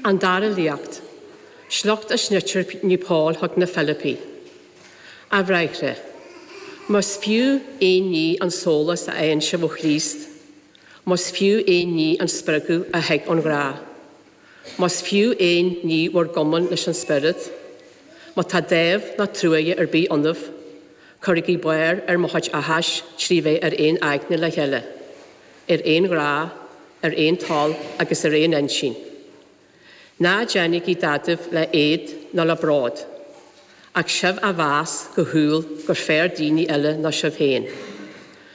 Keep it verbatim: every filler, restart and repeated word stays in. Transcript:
An dara léacht, Sliocht as litir Naomh Pól chuig na Filipigh. A bhráithre, Más fiú aon ní an sólás a fhaigheann sibh ó Chríost, Más fiú aon ní an spreagadh a thig ón ghrá. Más fiú aon ní bhur gcumann leis an Spiorad, Má tá dáimh ná truaighe ar bith ionaibh, cuirigí barr ar mo chuid áthais trí bheith ar aon aigne le chéile, ar aon ghrá, ar aon toil agus ar aon intinn. Ná déanaigí dadaidh le éad ná le bród, ach sibh á mheas go humhal gur fearr daoine eile ná sibh féin.